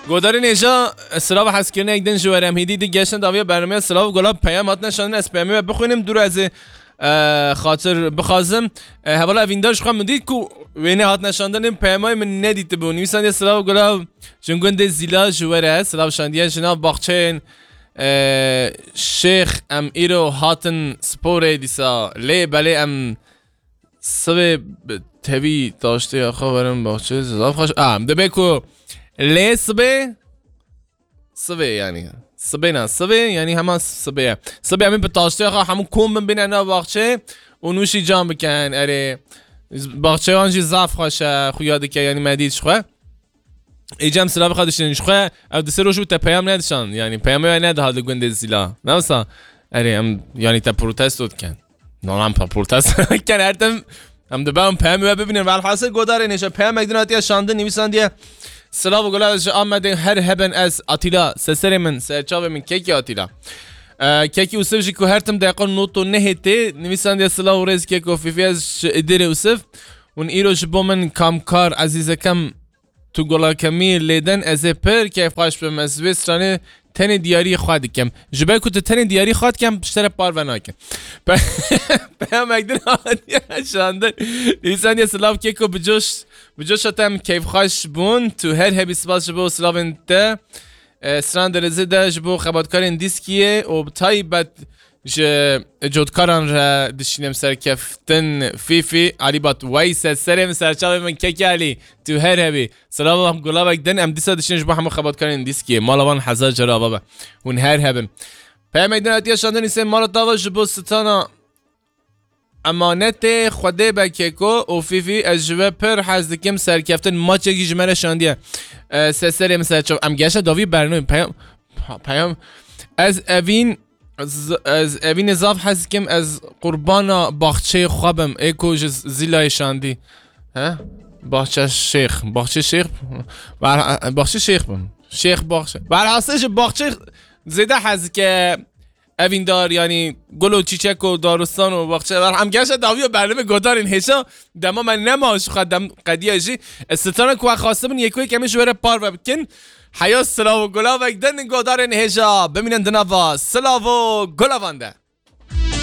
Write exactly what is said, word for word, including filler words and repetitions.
Godarên hêja, silav û hezkirine yek din ji we re. Em hêdî di geştin dawiya bernameya silav û gula peyam hatine şandin, ez peyamê we bixwînim, dûr ez ê, e, xatir bixwazim. E, hevala evîndar ji xwe min dît ku wêne hatine şandin, peyamay min nedîtibû. Nivîsandiye silav û gula jin gundê Zîla ji we re, silav şandiye ji nav baxçeyên, e, Şêx em îro hatin sporê dîsa. Lê belê em sibê bi tevî taştê xwe werin baxçê zaf xweş. A, em dibe ku lê sibê, sibê yani. Sibê ne, sibê yani hema sibê ye. Sibê em ê bi taştê xwe hemû kom bin bîne nav baxçê û nûşî can bikin. Erê, baxçê wan jî zaf xweş e, xuya dike yani me dît ji xwe. Êcem silav xwe diştin ji xwe, ev di sê roj û te peyam nedişan. Yani peyamê we nediha li gundê Zîla. Ne wisa? Erê em yani te protesto dikin. Nolan pa protesto dikin her tim. Em dibe em peyamê we bibînin. Velhasil godarên hêja peyamek din hatiye şandin, nivîsandiye. Silav û gula ji Amedê her heben ez Atîla. Seserê min, serçavê min kekî Atîla. E, kekî Usif jî ku her tim deqa noto nehê tê. Nivîsandiye silav û rêz keko Fîfî ez ji Îdîrê Usif. Hûn îro ji bo min kamkar ezîzekem tu gola kemî lêden ez ê pir keyfxweş bim. Ez vê stranê tenê diyarî xwe dikim. Ji ber ku tu tenê diyarî xwe dikim, ji te re parve nakim. Pe-, peyamek din hatiye şandin. Nivîsandiye silav keko bi coş, bi coşa te em keyfxweş bûn. Tu her hebî spas ji bo silavên te. E, stran derizê de ji bo xebatkarên dîskiyê û bi taybet ji cotkaran re dişînim serkeftin Fîfî, Alî Bat Weyse, serê min serçavê min kekê Alî, tu her hebî. Silav û gulavek din em dîsa dişînin ji bo hemû xebatkarên dîskiyê. Mala wan hezar cara ava be. Hûn her hebin. Peyamek din hatiye şandin îsê mala tava ji bo stana emanetê Xwedê be keko û Fîfî ez ji we pir hez dikim serkeftin maçekî ji me re şandiye. E, seserê min serçav. Em geşe davî bernûn. Peyam, peyam. Ez evîn Z-, ez evînê zaf hez dikim, ez qurbana baxçeyê xwe bim, ê ku ji Z-, Zîlayê şandî. He? Baxçe Şêx, Baxçe Şêx, Ber-, Baxçe Şêx bim. Şêx Baxçe. Berhasê ji baxçe zêde hez dike evîndar, yani gul û çîçek û daristan û baxçe. Ber-, em gerçe dawiyo berlimi godarên hêşa dema me nema ji xwe dem qediye jî. Ez strana ku xwestibin yek û yek em ê ji we re parve bikin. Heya silav û gulavek din godarên hêja. Bimînin di nava silav û gulavan de.